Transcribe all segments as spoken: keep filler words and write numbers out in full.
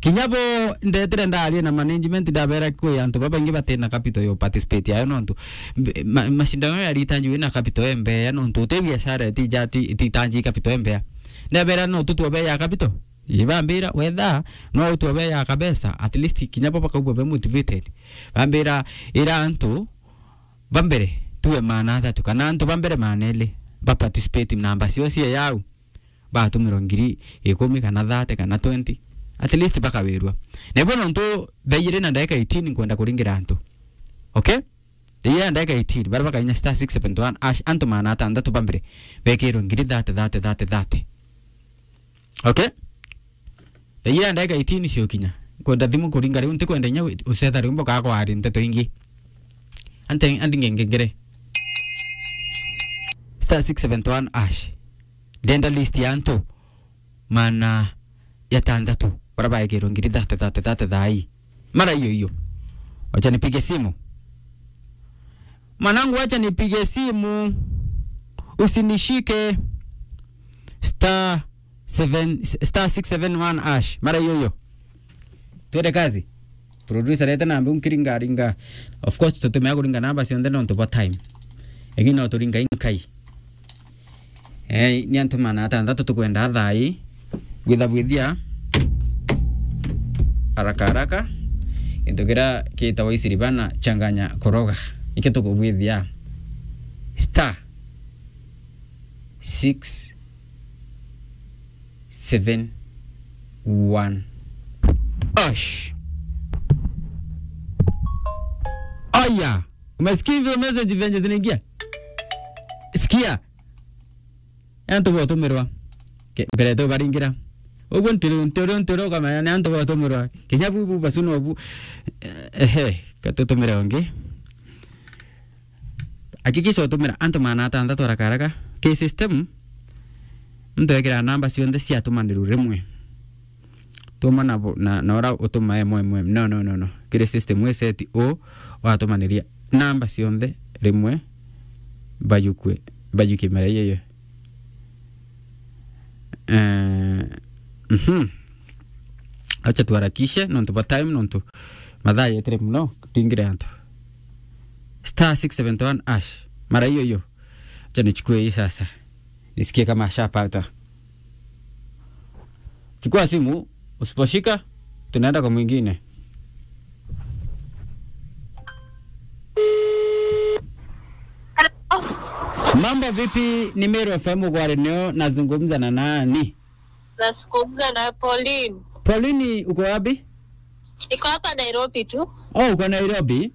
Kinya bo ndetire ndaria na management, ndabera kwi antu babaingi batina capital yo participate ayo, nontu mb-, ma-, mashindano ya ritanji wina capital embea, nontu uti biashara itija-, ti-, ititanji capital embea. Ndabera no tutwe be ya capital. Ibambira wetha no utwe be ya kabesa, at least kinya bo bakaigua be motivated. Bambira ira antu ba mbere tuwe maana athatu, kana antu ba mbere maana eli ba participate namba cio cie yau, batumirwa ngiri ikumi kana thirty kana twenty, at least bakawirwa. Na ibo nontu thaa ijiri na ndagika eighteen nkwenda kuringira antu. Okay? Thaa ijiri na ndagika eighteen, baria bakainya star six seven one hash, antu maana atanthatu ba mbere bekirwe ngiri thirty, thirty, thirty, thirty. Okay? Thaa ijiri na ndagika eighteen ciukinya. Kwenda thimu kuringa riu, ntikwenda inya ucetha riu mboka kwari nteto ingi. Ante, andi ngengengere. Star six seven one hash. Ndenda list ya antu maana ya tanthatu baria baekirwe ngiri thirty, thirty, thirty thaa ii. Mara hiyo hiyo. Wacha nipige simu. Mwanangu, wacha nipige simu. Usinishike. Star seven, star six seven one hash. Mara hiyo hiyo. Twende kazi. Producer, leta namba unkiringa ringa. Of course, tutumea kuringa namba cionthe nontu bwa time. Lakini no turinga inkai. Eh, ni antu maana atanthatu tukwenda thaa ii. Bwitha bwithia. Haraka haraka. Gintu kiria kitagwa isiribana changanya koroga. Ikio tukubwithia. Star six seven one hash. Aya, umesikia hivyo message venye zinaingia? Sikia. Ni antu botumirwa. Ke-, mbere tu baringira. Uguo ntiri, ntiri, ntiri ukamenya ni antu botumirwa. Kinya bu, bu, basu no bu. Eh, ehe, katutumire ungi. Hakikisha utumira antu maana atanthatu haraka haraka. Ki system, muntu ekira namba cionthe ciatumanirwe rimwe. Tuma na bu-, na, na ura utuma emwe emwe. No, no, no, no. Kiri system wi set u, watumaniria namba cionthe rimwe, bayukwe, bayuke mara iyo iyo. Eh, mhm. Acha tuharakishe, nontu bwa time, nontu mathaa yetire muno, tuingire antu. Star six seven one hash. Mara hiyo hiyo. Acha nichukue hii sasa. Nisikie kama ashapata. Chukua simu, usiposhika, tunaenda kwa mwingine. Hello. Mambo vipi? Ni Meru F M, uko hewani, nazungumza na nani? Nazungumza na Pauline. Pauline, uko wapi? Niko hapa Nairobi tu. Oh, uko Nairobi?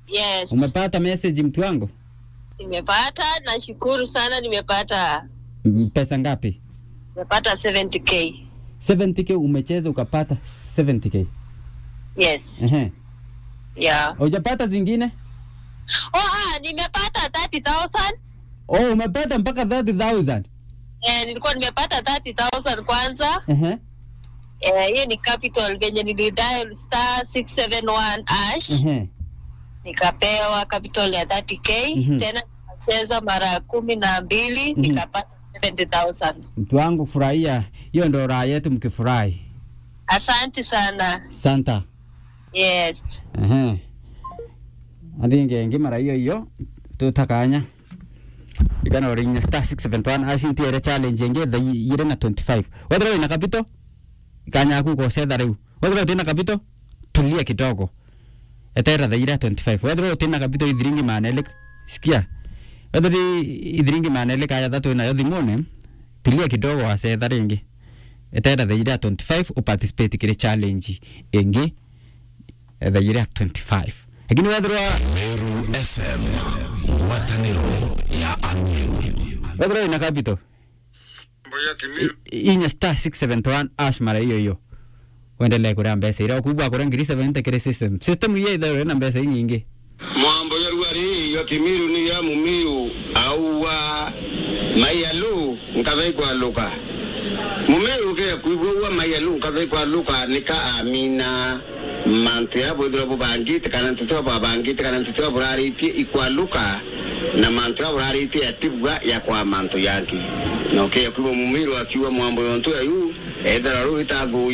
Yes. Umepata message, mtu wangu? Nimepata, nashukuru sana, nimepata. Mm, pesa ngapi? Nimepata seventy K. Seventy K umecheza ukapata seventy K? Yes. Ehe. Yeah. Hujapata zingine? Oh, ah, nimepata thirty thousand. Oh, umepata mpaka thirty thousand? Eh, nilikuwa nimepata thirty thousand kwanza. Ehe. Eh, hiyo ni capital, venye nilidial star six seven one hash. Ehe. Nikapewa capital ya thirty K. Mhm. Tena nikacheza mara kumi na mbili, mhm, nikapata seventy thousand. Mtu wangu, furahia. Hiyo ndo raha yetu, mkifurahi. Asante sana. Santa. Yes. Ehe. Aringe ingi mara hiyo hiyo, tutakanya. Ikana urinya star six seven one hash, ntiere challenge ingi thaa ijiri na twenty-five. Wethira wina capital, ikanya yaku ugocetha riu. Wethira utina capital, tulia kidogo. Eterera thaa ijiri twenty-five. Wethira utina capital ithiringi maana eli, sikia. Wethira ithiringi maana eli kana jathatu winayo thimune, tulia kidogo, wacetha ringi. Eterera thaa ijiri twenty-five, uparticipate kiri challenge ingi. Thaa ijiri twenty-five. Lakini wethirwa Meru F M, ngwataniro ya Ameru. Wethirwa wina capital, mboya Kimiru. I-, inya star six seven one hash mara iyo iyo. Wendelee kuria mbeca iria ukubwa kuria ngiri seventy kiri system. System iyo ithirwa ina mbeca inyingi. Mwambo ya ruari ya Kimiru ni ya Mumiu auwa maialu nkatha ikwaluka. Mumiu ke kuibwa uwa maialu nkatha ikwaluka nika amina. Mantu ya bwithirwa bubangite, kana nteto bwabangite, kana nteto buraritie ikwaluka, na mantu ya buraritie yatibua yakwa mantu yangi. Na ukeya kwigua Mumiru akiuga mwambo yontu ya yu, ethera riu itathuya,